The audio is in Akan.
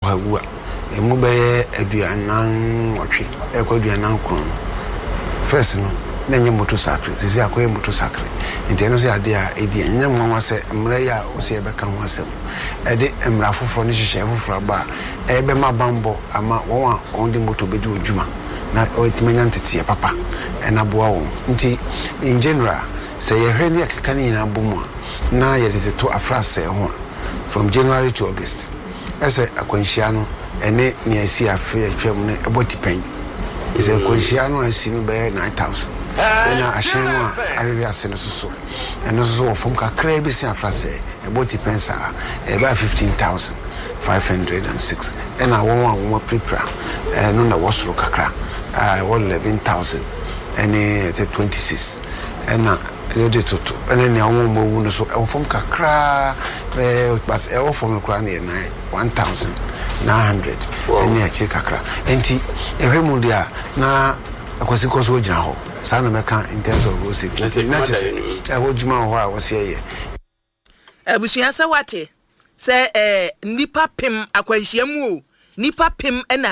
Ɔhawu a, emu bɛyɛ 48 rekɔ 49 no, first no, na ɛnyɛ motor sakre, seesei akɔyɛ motor sakre. Nti ɛno nso yɛ adeɛ a ɛdi ɛnyɛ nwanwa sɛ mmara yi a wose yɛbɛka ho asɛm, ɛde mmara foforɔ ne nhyehyɛeɛ foforɔ aba a ɛbɛma bammɔ ama wɔn a wɔde motor bɛdi wɔn dwuma na wɔatumi anya nteteeɛ papa na aboa wɔn. Nti in general, sɛ yɛhwɛ ne yɛkeka ne nyinaa bɔ mu a, na yɛde toto afrasɛɛ ho a, from January to August, Ɛsɛ akwanhyia no ɛne nea esii afe a atwam no bɔ tipɛn. Sɛ akwanhyia no a asi no bɛyɛ 9,000, ɛnna ahyɛn no a ahwehwe ase no nso so, ɛno nso so wɔ fam kakraa bi sen afrasɛɛ, ɛbɔ tipɛn saa, ɛbɛyɛ 15,506. Ɛnna wɔn a wɔapirapira no na ɛwɔ soro kakra a ɛwɔ 11,000 ne 26. Ɛnna wode toto ne nea wɔn a wɔawu no so, ɛwɔ fam kakraa. Ɛɛ but ɛwɔ fam no koraa no yɛ nine 1,900 ɛne akyire kakra. Nti ɛhwɛ mu deɛ a na Akwasi kɔ so gyina hɔ. Saa na mɛka in terms of road safety. Nti na kyerɛ sɛ ɛhɔ adwuma wɔ hɔ a wɔsi ɛyɛ. Abusua sɛ wate sɛ ɛɛ nnipa pem akwanhyia mu o, nnipa pem na.